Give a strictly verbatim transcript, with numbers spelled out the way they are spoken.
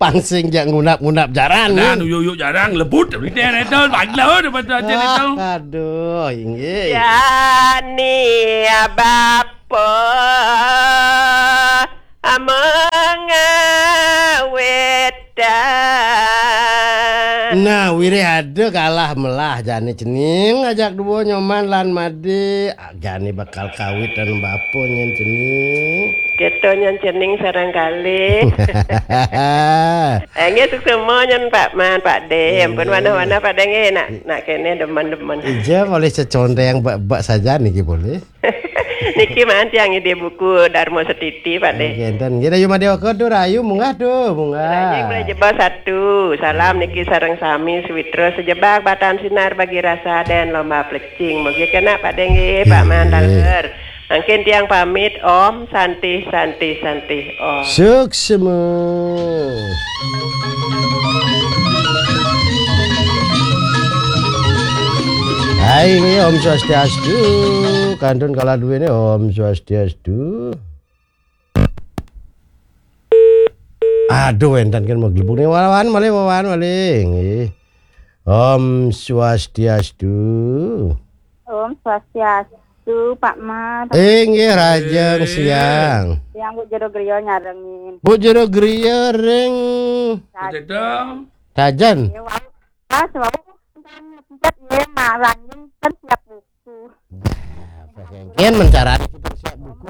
Angsing jak ngunap-ngunap jaran. Nah, nu yuyuk jaran lebut. Ini itu, bandel daripada jaran itu. Ah, aduh, inggih. Jani bapa mengawitan. Nah, wirih ada kalah melah jani cening ajak dua Nyoman lan Made. Ah, jani bakal kawit dan bapa nyen cening. Kita nyen cening sareng kalih. Eh, nggih, suksma nyen Pak Man, Pak De. Ampun, eh, wanah-wanah Pak De nggih, nak, nak kene demen-demen. Ija boleh cecondeng bak, bak saja niki boleh. Niki man tiang ide buku Dharma Setiti, Pak De. Nggih, enten. Nggih, Rayu Madewaka tu, Rayu munggah tu, munggah. Rayu mulai jebak satu. Salam niki sareng sami Sawitra sejebak Batan Sinar bagi rasa dan lomba plecing. Mugi kena Pak De nggih, Pak Man taler. Mangkin tiang pamit, Om Santi, Santi, Santi, Om. Suksma. Hai, Om Swastiastu. Kantun kala duwene, Om Swastiastu. Aduh, enten kan mau gelebune wawan malih, wawan malih. Nggih. Om Swastiastu. Om Swastiastu, Pak Man. Eh, nggih, rajeng siang. Yang Bu Jero Griya nyarengin. Bu Jero Griya ring Tajen. Tajen. Ya, wau. Pas wau kan ngepet ya, marangin kan siap buku. Nah, pas engken mencarani kita siap buku.